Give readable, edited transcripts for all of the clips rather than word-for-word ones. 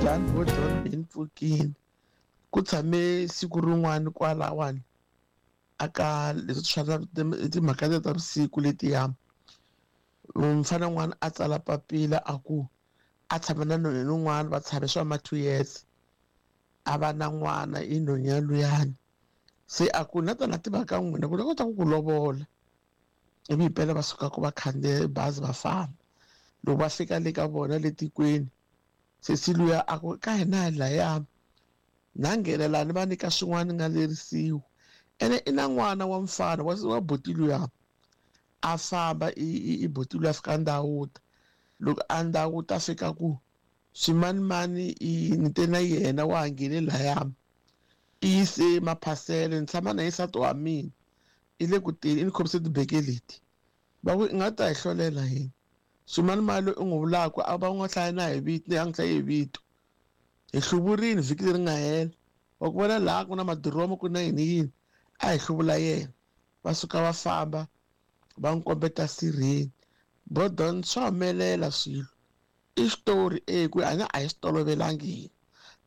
Njhani vo John mi ni pfukini ku tshame siku rin'wana kwalawani aka leswi swa timhaka ta vusiku letiya mfana n'wana a tsala papila a ku a tshama na nhonheni un'wana va tshame swa ma 2 years a va na n'wana i nhonheni luyani se a ku na tana tiva ka n'wina ku la kota ku ku lovola ivi himpela va suka ku va khandziya bazi va famba loko va fika le ka vona le tikweni sesi luya a ku ka hina hi laya na nghenelani va nyika swin'wana nga lerisiwa ene i na n'wana wa mfana wa buti luya a famba i buti luya fika ndhawuta loko a ndhawuta fika ku swimanimani i ni te na yena wa ha nghene laya i yise maphasele ni tshama na ye nsati wa mina i le ku teni i ni khomise tibeke leti va ku i nga ta hi hlolela yini swimanimani loyi u n'wi vulaka a va n'wi hlaya na hi vito a n'wi hlayi hi vito hi hluvurini vhiki leri nga hela wa ku vona laha ku na madiromo ku na yini yini a hi hluvula yena va suka va famba va n'wi kombeta sirheni bodon swa humelela swilo i xitori e ku hanya a hi swi tolovelangi hina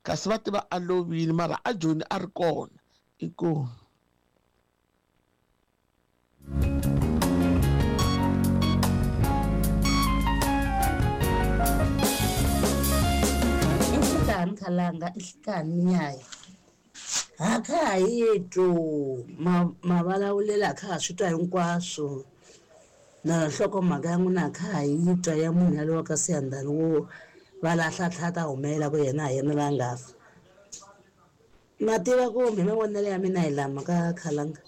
kasi va tiva a lovile mara a joni a ri kona inkomu. Nhlikani khalanga nhlikani nyaya ha kha ha yi twu mavulavulelo a kha ha swi twa hinkwaswo na nhlokomhaka ya n'wina a kha ha yi twa ya munhu yalowa ka Siyandhani wo va lahla tlha ta humelela ku yena ha yena la nga fa na tiva ku mi mavonelo ya mina hi lama ka khalanga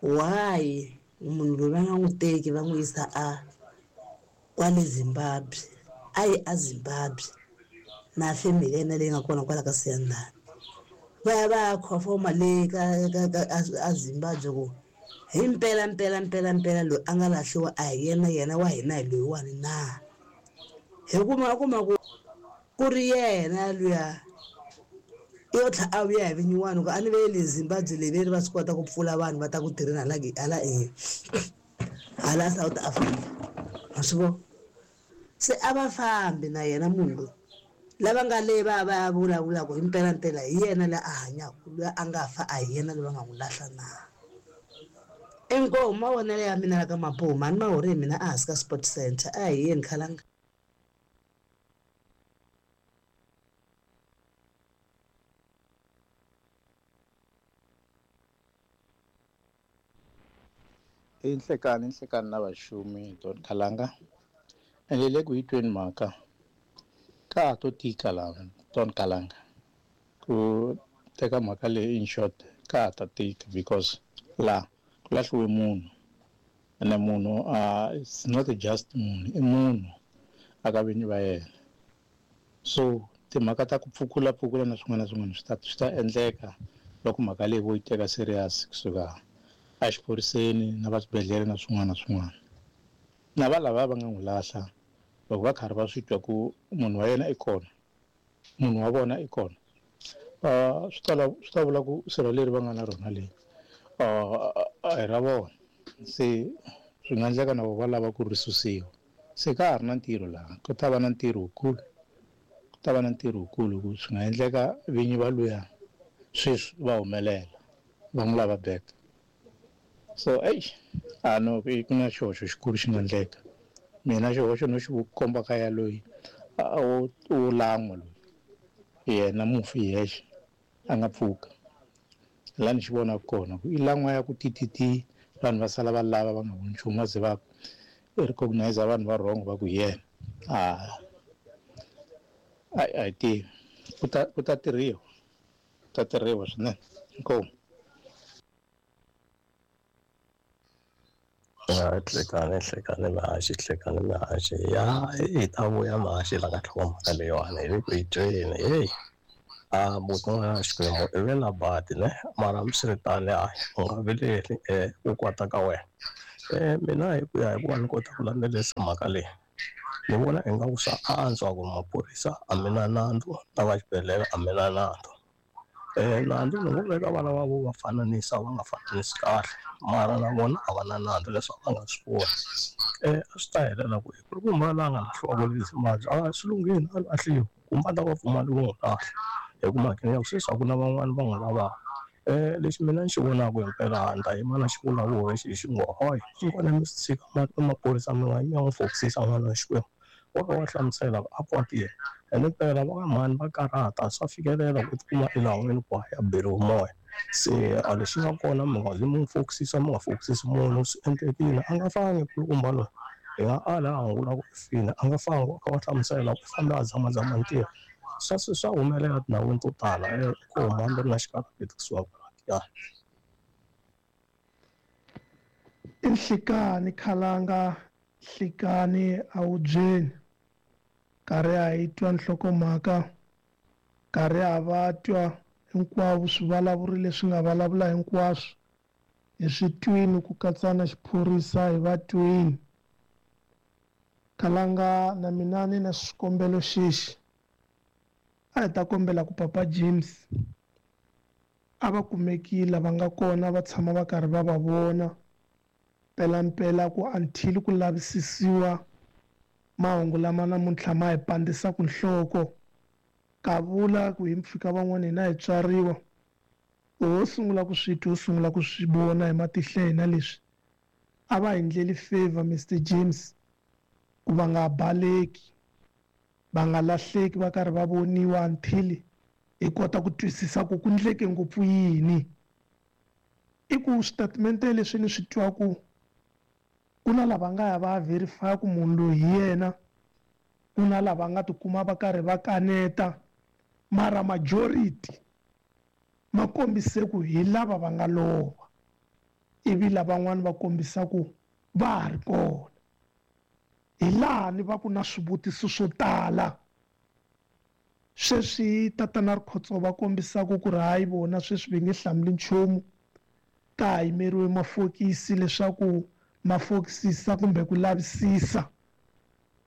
why munhu loyi va nga n'wi teki va n'wi yisa a kwale Zimbabwe a yi a Zimbabwe na family ya yena leyi nga kona kwala ka Siyandhani va ya va ya khofoma le ka ka ka a Zimbabwe ku hi mpela mpela mpela mpela loyi a nga lahliwa a hi yena yena wa hina hi loyiwani na hi kuma kuma ku ku ri yena luya yo tlha a vuya hi vinyiwani ku a ni ve le Zimbabwe leyi ve ri va swi kota ku pfula vanhu va ta ku tirheni hala hala e hala South Africa ma swi vona se a va fambi na yena munhu loyi lava nga le va va vulavulaka hi mpelampela hi yena loyi a hanyaka loyi a nga fa a hi yena loyi va nga n'wi lahla na inkomu mavonelo ya mina la ka Mapume a ni ma hori hi mina ehansi ka Sport Center a hi yeni khalanga. I nhlekani nhlekani na vaxumi Don Khalanga ende le ku yi tweni mhaka ka ha to tika laha Don Khalanga ku teka mhaka leyi in short ka ha ta tika because laha ku lahliwe munhu ene munhu it's not just munhu i munhu a ka vinyi va yena so timhaka ta ku pfukula pfukula na swin'wana na swin'wana swi ta endleka loko mhaka leyi vo yi teka serious kusuka exiphoriseni na va swibedhlele na swin'wana na swin'wana na va lava va nga n'wi lahla loko va karhi va swi twa ku munhu wa yena i kona munhu wa vona i kona swi ta vula ku sirha leri va nga na rona leyi a hi ra vona se swi nga endleka na vona va lava ku ri susiwa se ka ha ri na ntirho laha ku ta va na ntirho wukulu ku ta va na ntirho wukulu ku swi nga endleka vinyi va luya sweswi va humelela va n'wi lava back so ey a no ku na xihoxo xikulu xi nga endleka mina xihoxo no xi komba ka ya loyi wo lan'wa loyi yena mufi hi yexe a nga pfuka laha ni xi vonaka kona ku i lan'wa ya ku tititi vanhu va sala va lava va nga voni nchumu va ze va recognize vanhu va wrong va ku hi yena a hi tivi ku ta tirhiwa ku ta tirhiwa swinene inkomu. Ya hlekani hlekani mihaxi hlekani mihaxi ya hi ta vuya mihaxi la ka nhlokomhaka leyiwani hi le ku yi tweni heyi a buti n'wana Xikwembu i ve na badi ne mara hambiswiritano hayi u nga vileli ku kwata ka wena mina hi ku ya hi ku va ni kota ku landzelerisa mhaka leyi ni vona ingaku swa antswa ku maphorisa a mi na nandzu na va xibedhlele a mi na nandzu nandzu ni ngo veka vana va vo va fananisa va nga fananisi kahle mara na vona a va na nandzu leswaku va nga swi voni a swi ta helela ku ri ku mhani a nga lahliwa ku le Zimbabwe a swi lunghile a lahliwa. Kumbe a ta va pfumali vo n'wi lahla hi ku mhakeni ya ku sweswi a ku na van'wani va n'wi lavaka. Lexi mina ni xi vonaka himpela ni ta yima na xivulavuri lexi hi xi ngo hoy xikona mi swi tshika maphorisa mi nga mi ya n'wi fokisisa n'wana wa Xikwembu. Wa ka wa hlamusela ku a kwatile ene mpela va ka mhani va karhata swa fikelela ku tikuma elawini ku ya beriwa moya. Se a lexi nga kona mi nga zi mi n'wi fokisisa mi nga fokisisi munhu swi endlekile a nga fangi kulukumba loyi hi nga ala a hungula ku i file a nga fangi wa kha wa hlamusela ku i fambe a zamazama ntirho. Swa swa humelela tindhawini to tala ku huma hambi ri na xikarhati kusuka kwala. I nhlikani khalanga nhlikani a wu byeni karhi a hi twa nhlokomhaka karhi a va twa hinkwavo swivulavuri leswi nga vulavula hinkwaswo hi swi twini ku katsa na xiphorisa hi va twini. Khalanga na mina ni na xikombelo xexi a hi ta kombela ku Papa James a va kumekile va nga kona va tshama va karhi va va vona mpelampela ku until ku lavisisiwa mahungu lama namuntlha ma hi pandzisaka nhloko. Ka vula ku hi mpfhuka van'wana hina hi tswariwa ho sungula ku swi twa ho sungula ku swi vona hi matihlo ya hina leswi a va hi ndleli favor Mr James ku va nga baleki va nga lahleki va karhi va voniwa until hi kota ku twisisa ku ku ndleke ngopfu yini. I ku switatimende leswi ni swi twaku ku na lava nga ya va verify ku munhu loyi hi yena, ku na lava nga tikuma va karhi va kaneta, mara majority ma kombise ku hi lava va nga lova ivi lavan'wana va kombisa ku va ha ri kona. Hi laha ni va ku na swivutiso swo tala. Sweswi tatana Rikhotso va kombisaka ku ri hayi vona sweswi va nge hlamuli nchumu, ka ha yimeriwe mafokisi leswaku ma fokisisa kumbe ku lavisisa.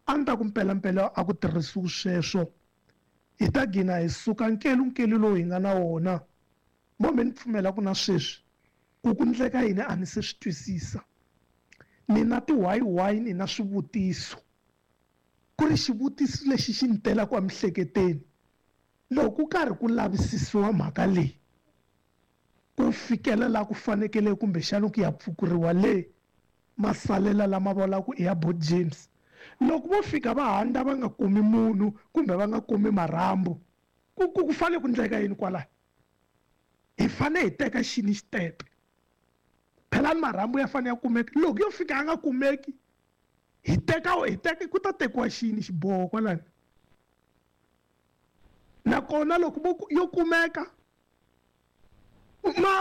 A ni ta ku mpelampela a ku tirhisiwi sweswo, hi ta gina hi suka nkelunkelu lowu hi nga na wona. Mo me ni pfumela ku na sweswi ku ku ndleka yini a ni se swi twisisa. Ni na ti-why why ni na swivutiso. Ku ri xivutiso lexi xi ni telaka emiehleketweni loko ku karhi ku lavisisiwa mhaka leyi ku fikela laha ku fanekele kumbexana ku ya pfukuriwa le masalela lama vulaka i ya Bot James. Loko vo fika va handa va nga kumi munhu kumbe va nga kumi marhambu ku fanele ku ndleka yini kwalaho? Hi fanele hi teka xini xitepe? Phela ni marhambu ya fanele ya kumeka. Loko yo fika a nga kumeki hi teka ku ta tekiwa xini xiboho kwalano? Nakona loko yo kumeka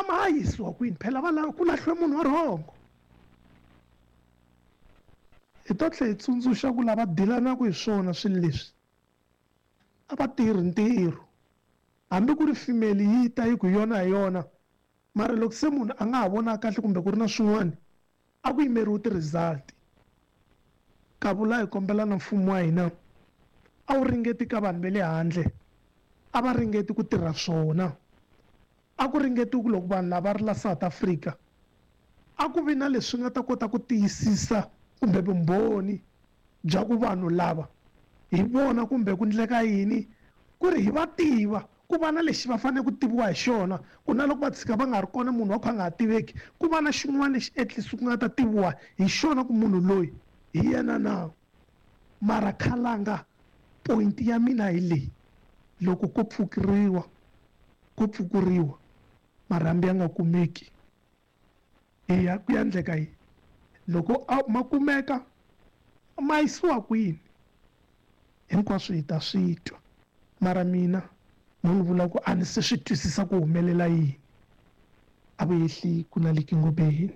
ma yisiwa kwini? Phela va lava ku lahliwe munhu wa rhongo. Hi to tlhela hi tsundzuxa ku lava dilanaka hi swona swilo leswi a va tirhi ntirho. Hambi ku ri female yi ta yi ku yona hi yona, mara loko se munhu a nga ha vona kahle kumbe ku ri na swin'wana a ku yimeriwi ti-result. Ka vula hi kombela na mfumo wa hina a wu ringeti ka vanhu va le handle, a va ringeti ku tirha swona. A ku ringetiwi ku loko vanhu lava ri la South Africa a ku vi na leswi nga ta kota ku tiyisisa kumbe vumbhoni bya ku vanhu lava hi vona kumbe ku ndleka yini, ku ri hi va tiva ku va na lexi va fanele ku tiviwa hi xona, ku na loko va tshika va nga ri kona munhu wa ku a nga ha tiveki, ku va na xin'wana lexi at least ku nga ta tiviwa hi xona ku munhu loyi hi yena na. Mara khalanga point ya mina hi leyi, loko ko pfukuriwa marhambu ya nga kumeki, hi ya ku ya ndleka yini? Loko ma kumeka ma yisiwa kwini? Hinkwaswo hi ta swi twa. Mara mina mo ni vula ku a ni se swi twisisa ku humelela yini. A vu yehli ku na le Kingobeni.